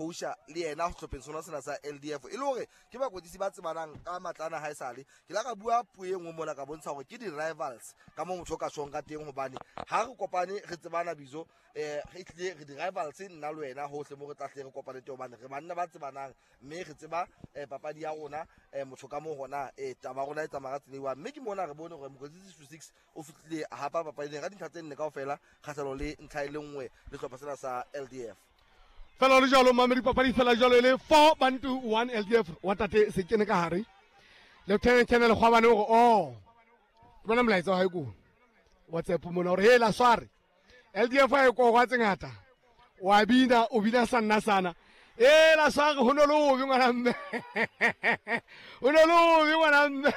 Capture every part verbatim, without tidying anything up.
Coacha le yena sehlopheng sona sena sa L D F e le hore ke bakwetlisi ba tsebanang ka matlana ha esale. Ke la ka bua puo e nngwe mona ka bontsha hore ke di-rivals ka moo motho o ka tjhong ka teng, hobane ha re kopane re tsebana bizo, eh, re tlile re di-rivals nna le wena hohle mo re tla hle re kopane teng, hobane re banna ba tsebanang mme re tseba, eh, papadi ya rona, eh, motho ka moo hona, eh, taba ya rona e tsamaya ka tsela e one. Mme ke mona re bone hore mokwetlisi six six o fihlile a hapa papadi ena ka dintlha tse nne kaofela kgahlanong le ntlha e le nngwe le sehlopha sena sa L D F. Fela le jwalo, mamedi, papadi fela jwalo e le four Bantu one L D F wa tate se kene ka hare. Lieutenant Colonel Kgwabane o re, oh, ke bona molaetsa wa hae ko WhatsApp mona hore, hela sware L D F ha e korwa tse ngata, wa bina, o bina sa nna sana. Hela sware, ho no le hobe ngwana mme. Ho no le hobe ngwana mme.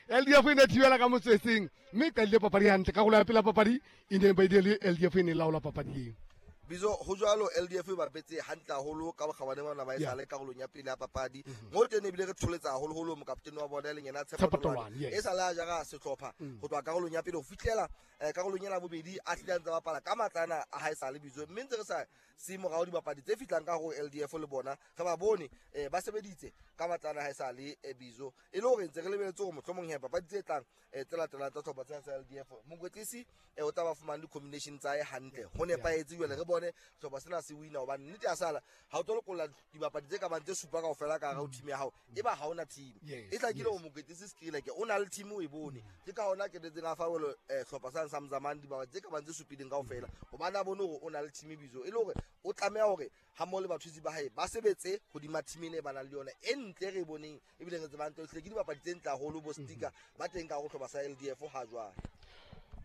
L D F e ne thibela ka motswetseng, mme e qadile papadi hantle. Karolo ya pele ya papadi e ne ba ile le L D F e ne e laola papadi eo. Bizo, ho jwalo L D F e bapetse hantle haholo ka bokgabane bona ba e Yeah. sale karolong ya pele ya papadi. Mm-hmm. Mo teng ebile re tsholetsa haholoholo mokaptene wa bona e leng yena Tshepo Tshepo Tolwane. Tolwane, yes. E sale a jara sehlopha Mm. ho tloha karolong ya pele ho fihlela, eh, karolong ena ya bobedi a hlile a ntse a bapala ka matlana a hae sale Bizo. Mme ntse re sa se morao dibapadi tse fihlang ka ho L D F le bona re ba bone, eh, ba sebeditse ka matlana a hae sale, eh, Bizo. E le hore ntse re lebeletse hore mohlomong he papadi tse tlang, eh, tse latelang tsa sehlopha sena sa L D F, mokwetlisi, eh, o tla ba fumane di-combination tsa hae hantle. Ho Yeah. nepahetse jwale re bone sehlopha sena se wina, hobane nnete ya sala ha o tlo lokolla dibapadi tse ka bang tse supa kaofela ka hara ho team ya hao, e ba ha hona team. Yes, E hlakile yes. hore mokwetlisi Skrileke o na le team o e bone. Ke ka hona ketetseng a fa welo, eh, sehlopha sane sa Mzamane dibapadi tse ka bang tse supileng kaofela, hobane a bone hore o na le team Bizo. E le hore o tlameha hore ha mmoho le bathusi ba hae ba sebetse hodima team ena e ba nang le yona e ntle re e boneng, ebile re tsebang hantle ke dibapadi tse ntle haholo bo Sticker ba teng ka hare ho sehlopha sa L D F ha jwale.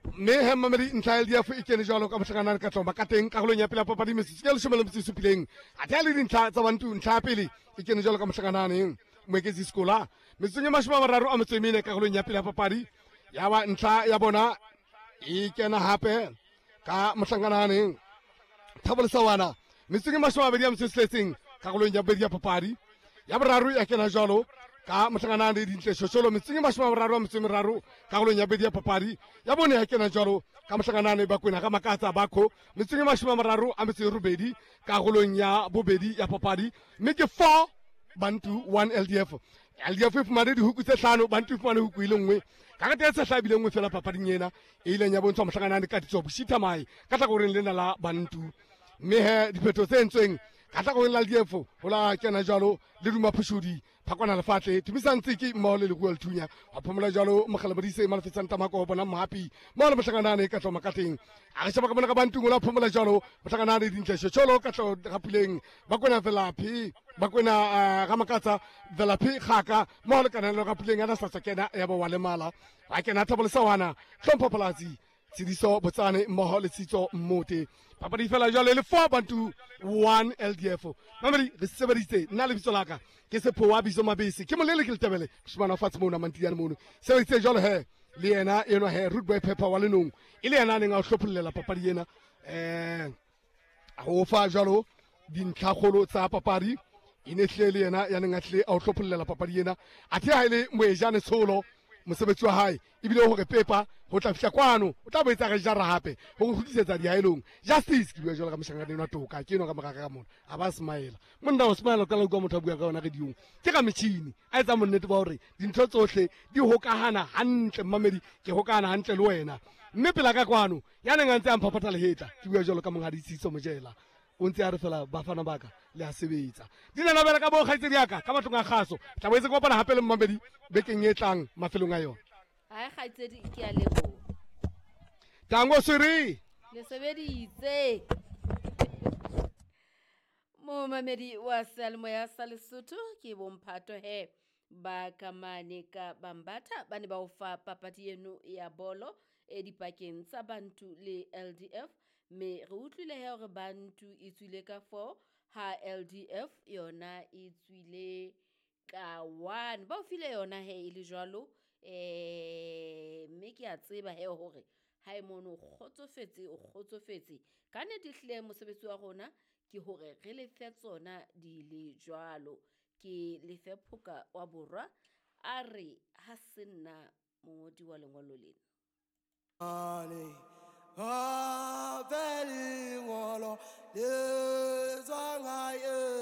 Mme he mamedi, ntlha ya L D F e kene jwalo ka mohlakanane ka tloma ka teng karolong ya pele ya papadi metsotso e leshome le metso e supileng. Athe ha le dintlha tsa Bantu, ntlha ya pele e kene jwalo ka mohlakanane Moeketsi Sekola metsotsong e mashome a mararo a metso e mene karolong ya pele ya papadi. Ya ba ntlha ya bona e kena hape ka mohlakanane Thabo Lesawana metsotsong e mashome a mabedi a metso e tsheletseng karolong ya bobedi ya papadi. Ya boraro ya kena jwalo ka mohlakanane Dintle Shosholo metsotsong e mashome a mararo a metso e meraro karolong ya bobedi ya papadi. Ya bone ya kena jwalo ka mohlakanane Bakwena ka Makatsa Bakho metsotsong e mashome a mararo a metso e robedi karolong ya bobedi ya papadi. Mme ke four Bantu one L D F. L D F e fumane dihuku tse hlano, Bantu e fumane huku e le nngwe. Ka rete e tshehla ebile nngwe fela papading ena e ileng ya bontshwa mohlakanane ka ditso Boshitha Mahe ka hlakoreng lena la Bantu. Mme he diphetho tse entsweng ka hlakoreng la L D F ho la kena jwalo le Duma Phushudi, Phakwana Lefatle, Tumisang Tsiki mmoho le Leruo Lethunya. Wa phomola jwalo Mokgala Modise, Malefetsang Tamako, bona Mohapi mmoho le mohlakanane ka tloma ka teng. A re sheba ka mona ka Bantu, ho la phomola jwalo mohlakanane Dintle Shosholo ka tlo Rapuleng, Bakwena Velaphi, Bakwena, eh, Ramakatsa, Velaphi Kgaka mmoho le Kananelo Rapuleng a na sa tswa kena ya ba wa lemala. Wa kena Thabo Lesawana, Hlompho Phalatsi, Tshidiso Botsane mmoho le Tshitso Mmote. Papadi fela jwale le four Bantu one L D F. Mamedi, re sebeditse nna lebitso la ka ke Sephowa Bizo Mabese, ke molele ke Letebele, moshemane wa fatshe mono, Mantiyane mono. Sebeditse jwalo he le yena enwa he Rude Boy Pepper wa Lenong, e le yena a neng a o hlophollela papadi ena, eh, a o fa jwalo dintlhakgolo tsa papadi. E ne hlile le yena ya neng a hlile a o hlophollela papadi ena. Athe ha e le Moejane Tsholo, mosebetsi wa hae ebile hore Pepa ho tla fihla kwano o tla boetsa re jara hape ho re kgutlisetsa dihaelong. Justice ke bua jwalo ka mohlankana enwa toka, ke enwa ka moraka ka mona a ba smile. Monna o smile o qala ho utlwa motho a bua ka yona radiong, ke ka metjhini a etsa monnete ba hore dintho tsohle di hokahana hantle. Mmamedi, ke hokahana hantle le wena. Mme pela ka kwano ya neng a ntse a mphaphatha lehetla, ke bua jwalo ka monghadi Tshitso Mojela, o ntse a re fela bafana ba ka le a sebetsa. Di na nabela ka bo kgaitsedi ya ka ka matlong a kgaso. Tla boetse ke kopana hape le mmamedi bekeng e tlang mafelong a yona. Hai kgaitsedi, ke a leboha. Tango Siri. Le sebeditse. Momamedi wa seyalemoya sa Lesotho ke bomphato he ba kamane ka Bambatha ba ne ba o fa papadi eno ya bolo e dipakeng tsa Bantu le L D F, mme re utlwile he hore Bantu e tswile ka four ha L D F yona e tswile ka one. Ba o file yona he e le jwalo, eh, mme ke a tseba he hore ha e mono o kgotsofetse, o kgotsofetse. Ka nnete ehlile mosebetsi wa rona ke hore re lefe tsona di le jwalo. Ke lefe Phoka wa Borwa a re ha se nna mongodi wa lengolo lena. Ale, a fe lengolo le tswang hae.